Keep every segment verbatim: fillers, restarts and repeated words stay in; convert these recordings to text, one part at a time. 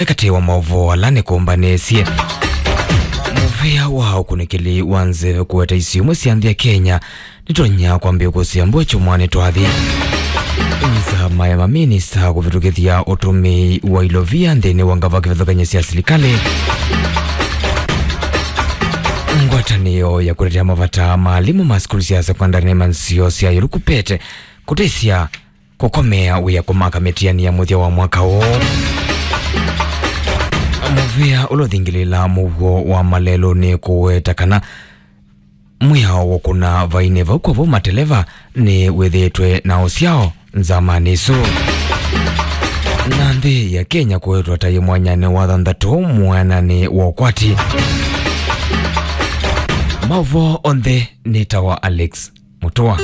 Katĩ wa maũvoo ala nĩkũmbanĩsye mũvĩa wa ũkunĩkĩli wa nzeve kũweta isio imwe sya nthĩ ya Kenya nĩtonya kwambĩĩa kũsĩa mbua kyumwanĩ twathi. Nzama ya maminista kũvĩtũkĩthya ũtũmĩi wa ilovia nthĩnĩ wa ngava kĩvathũkany'o sya silikalĩ. Ngwatanĩo ya kũtetea mavata ma alimũ ma sukulu sya sekondari na imanzio sya yũlu KUPPET kũtĩsya kũkomea wĩa kũmaka mĩtiani ya mũthya wa mwaka ũũ. Mũvĩa ũla ũthingĩlĩĩla mũuo wa malelũ nĩ kũweta kana mwĩao wa kũna vainĩ vau kwa vau mateleva nĩ wĩthĩĩtwe na ũsyao nzamanĩ ĩsu. Na nthĩ ya Kenya kũwetwa ta yĩ mwanyanĩ wa thanthatũ mwananĩ wa ũkwati. Maũvoo onthe nĩ ta wa Alex Mũtũa.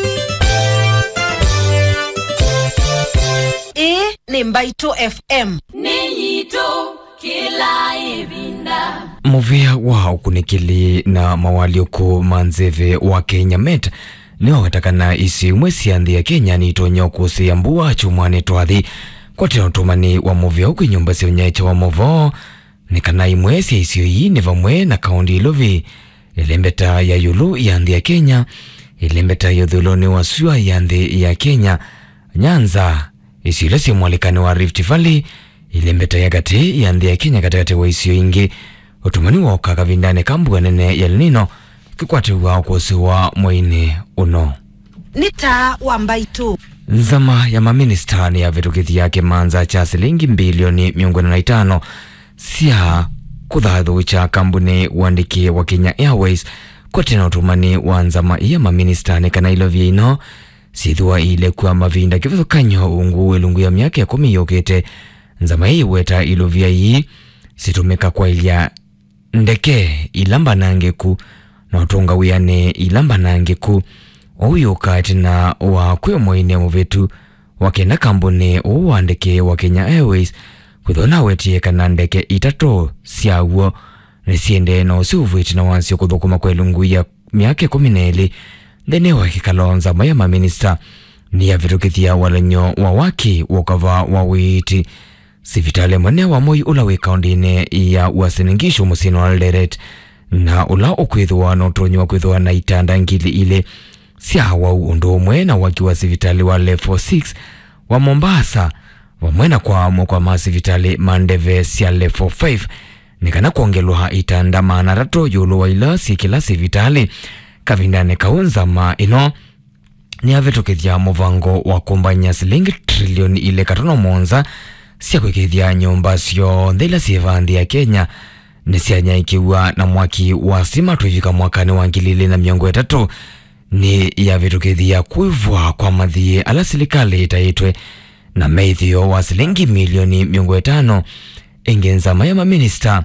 Ĩĩ nĩ Mbaitũ F M. Nĩ yitũ kĩla ĩvinda. Mũvĩa wa ũkunĩkĩli na mawalyũku ma nzeve wa Kenya Met nĩwaweta kana isio imwe sya nthĩ ya Kenya nitonya kũsĩa mbua kyumwanĩ twathi. Kwatĩna ũtũmani wa mũvĩa ũkwĩ nyũmba sya ũnyaĩĩkya wa maũvoo nĩ kana imwe sya isio ii nĩ vamwe na kaũnti ya Ilovi, ĩlembeta ya ĩũlũ ya nthĩ ya Kenya, ĩlembeta ya ũthũĩlonĩ wa sua ya nthĩ ya Kenya, Nyanza, isio ila syĩ mwalĩkanĩ wa Rift Valley, ĩlembeta ya katĩ ya nthĩ ya Kenya katĩkatĩ wa isio ingĩ. Ũtũmani wooka kavindanĩ ka mbua nene ya El Nino kĩkwatĩw'a ũkũsĩ wa mweinĩ ũno. Nĩ taa wa Mbaitũ. Nzama ya maminista nĩyavĩtũkĩthya kĩmanza kya silingi mbilioni mĩongo ĩna na itano sya kũthathũkya kambuni wa ndeke wa Kenya Airways. Kwatĩna ũtũmani wa nzama ii ya maminista nĩ kana ilovia ino syĩthĩwa iilekwa mavinda kĩvathũkany'o ungu wĩ ilungu ya myaka ĩkũmi yũkĩte. Nzama ii ĩweta ilovia ii situmĩka kwaĩlya ndeke ila mbanangĩku na ũtũnga wĩanĩ ila mbanangĩku. Ũu yũka ĩtina wa kwĩ mweinĩ mũvĩtu wa kenda kambuni ũũ wa ndeke wa Kenya Airways kwĩthĩwa nawetie kana ndeke itatũ syaw'o nĩsyendee na ũsũvu ĩtina wasyo kũthũkũma kwa ilungu ya myaka ĩkũmi na ĩlĩ. Nthĩnĩ wa kĩkalo, nzama ya maminista nĩyavĩtũkĩthya walany'o wa waki wa ũkava wa ũiiti sivitalĩ mũnene wa Moi ũla wĩ kaũndĩnĩ ya Uasin Gishu mũsyĩnĩ wa Eldoret, na ũla ũkwĩthĩwa na ũtonyi wa kwĩthĩwa na itanda ngili ilĩ sya awau ũndũ ũmwe na waki wa sivitalĩ wa level six wa Mombasa, vamwe na kwaamũkwa ma sivitalĩ ma ndeve sya level five, nĩ kana kwongelwa itanda maana atatũ ĩũlũ wa ila syĩ kĩla sivitalĩ. Kavindanĩ kau, nzama ĩno nĩyavĩtũkĩthya mũvango wa kũmbany'a silingi trilioni ilĩ katono mũonza sya kwĩkĩĩthya nyũmba syonthe ila syĩ vaa nthĩ ya Kenya nĩsyanyaĩĩkĩw'a na mwaki wa sitima twĩvika mwakanĩ wa ngili ilĩ na mĩongo ĩtatũ. Nĩyavĩtũkĩthya kwĩvwa kwa mathiĩ ala silikalĩ ĩtaĩtwe na mĩĩthĩo wa silingi milioni mĩongo ĩtano. Ĩngĩ, nzama ya maminista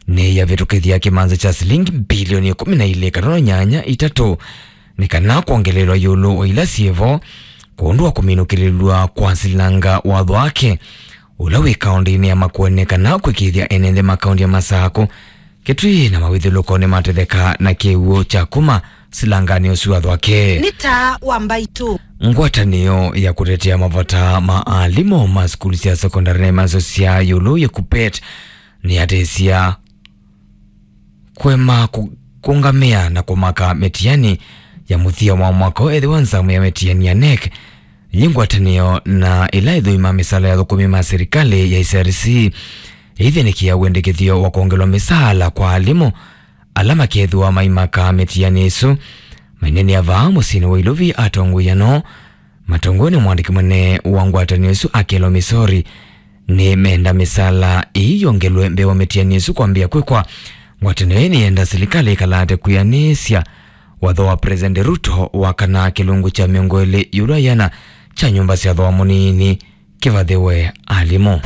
nĩyavĩtũkĩthya kĩmanza kya silingi mbilioni ĩkũmi na ilĩ katono nyanya itatũ nĩ kana kwongelelwa ĩũlũ wa ila syĩvo kwondũ wa kũminũkĩlĩlw'a kwa silanga watho wake ũla wĩ kaũndĩnĩ ya Makueni kana kwĩkĩĩthya ene nthĩ ma kaũndĩ ya Masakũ, Kitui na mawĩthyũlũko nĩmatetheka na kĩw'ũ kya kuma silanganĩ ũsu watho wake. Nĩ taa wa Mbaitũ. Ngwatanĩo ya kũtetea mavata ma alimũ ma sukulu sya sekondari na imanzio sya ĩũlũ ya KUPPET nĩyatĩsya kũema kũ-, kũngamĩa na kũmaka mĩtiani ya mũthya wa mwaka ũũ ethĩwa nzama ya mĩtiani ya NEC yĩ ngwatanĩo na ĩla ĩthũimaa mĩsaala ya athũkũmi ma silikalĩ ya S R C ĩithĩnĩkĩa wendekethyo wa kwongelwa mĩsaala kwa alimũ ala makethĩwa maimaka mĩtiani ĩsu. Maineenea vaa mũsyĩnĩ wa Ilovi, atongoi ano matongoew'e nĩ mwandĩki mũnene wa ngwatanĩo ĩsu Akello Misori nĩmenda mĩsaala ĩĩ yongelwe mbee wa mĩtiani ĩsu kwambĩĩa kwĩkwa. Ngwatanĩo ĩĩ nĩyenda silikalĩ ĩkalate kwĩanĩsya watho wa President Ruto wa kana kĩlungu kya mĩongo ĩlĩ ĩũlũ wa ĩana kya nyũmba sya thooa mũnini kĩvathĩwe alimũ.